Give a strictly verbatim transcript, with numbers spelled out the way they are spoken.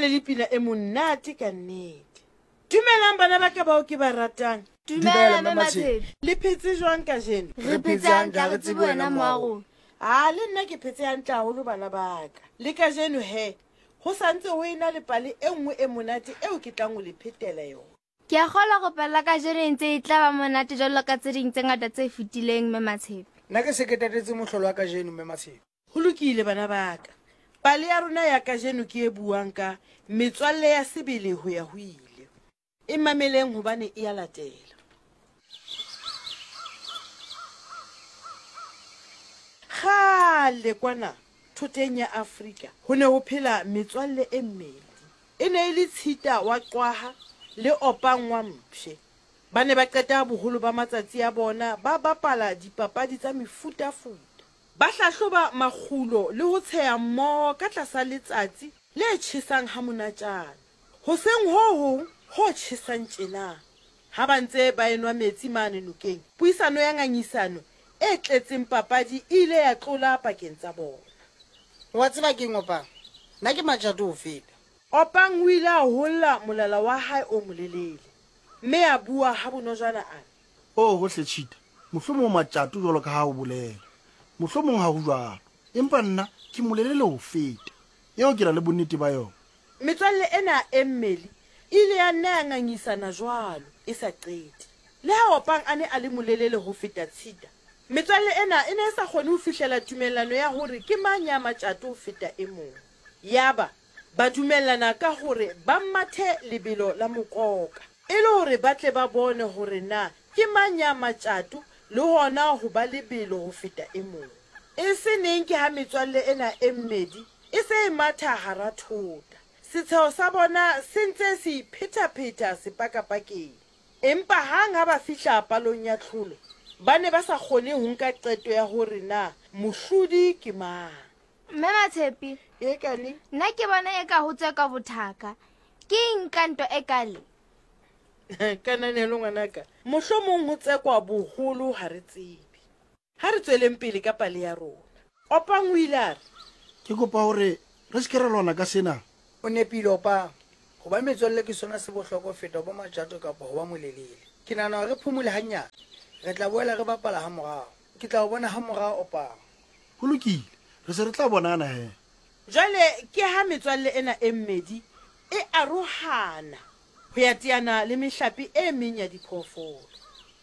ne le pina e monate ka nnete. Dumelang bana ba ka bao ke ba ratang. Dumela Mme Matshepe. Le phetse jwang kajeno? Re phetse hantle, ha re tsebe wena mma rona. A le nna ke phetse hantle haholo bana ba ka. Le kajeno he, ho sa ntse ho ena le pale e nngwe e monate eo ke tlang ho le phetela yona. Ke a kgolwa hore pale ya kajeno e ntse e tla ba monate jwalo ka tse ding tse ngata tse fetileng Mme Matshepe. Nna ke se ke tatetse mohlolo wa kajeno Mme Matshepe. Ho lokile bana ba ka. Pale ya rona ya kajeno ke e buang ka metswalle ya sebele ho ya ho ile. E mameleng hobane e a latela. Kgale kwana thoteng ya Afrika ho ne ho phela metswalle e mmedi. E ne e le Tshita wa Qwaha le Opang wa Mpshe. Ba ne ba qeta boholo ba matsatsi a bona ba bapala dipapadi tsa mefutafuta. Ba hlahloba makgulo le ho tsheha mmoho ka tlasa letsatsi le tjhesang ha monatjana. Hoseng ho hong ho tjhesang tjena, ha ba ntse ba enwa metsi mane nokeng, puisano ya ngangisano e tletseng papadi e ile ya tlola pakeng tsa bona. Wa tseba keng Opang? Nna ke matjato ho feta. Opang o ile a holla molala wa hae o molelele, mme a bua ha bonojana a re. Oho hle Tshita, mohlomong o matjato jwalo ka ha o bolela. Mohlomong ha ho jwalo. Empa nna ke molelele ho feta. Eo ke na le bonnete ba yona. Metswalle ena e mmedi e ile ya nna ya ngangisana jwalo e sa qete. Le ha Opang a ne a le molelele ho feta Tshita, metswalle ena e ne e sa kgone ho fihlela tumellano ya hore ke mang ya matjato ho feta e mong. Yaba ba dumellana ka hore ba mathe lebelo la mokoka e le hore ba tle ba bone hore na ke mang ya matjato le hona ho ba lebelo ho feta e mong. E se neng ke ha metswalle ena e mmedi e se e matha hara thota. Setsheho sa bona se ntse se iphetapheta sepakapakeng. Empa hang ha ba fihla palong ya tlholo, ba ne ba sa kgone ho nka qeto ya hore na mohlodi ke mang. Mme Matshepe, E kane? nna ke bona eka ho tseka bothaka. Ke eng ka ntwa e kale? Kananelo ngwanaka, mohlomong ho tsekwa boholo ha re tsebe. Ha re tsweleng pele ka pale ya rona. Opang o ile a re, Ke kopa hore re se ke ra lwana ka sena. O nepile Opang. Ho ba metswalle ke sona se bohlokwa ho feta ho ba matjato kapa ho ba molelele. Ke nahana hore re phomole hanyane. Re tla boela re bapala ha morao. Ke tla o bona ha morao Opang. Ho lokile, re se re tla bonana he. Jwale ke ha metswalle ena e mmedi e arohana ho ya teana le mehlape e meng ya diphoofolo.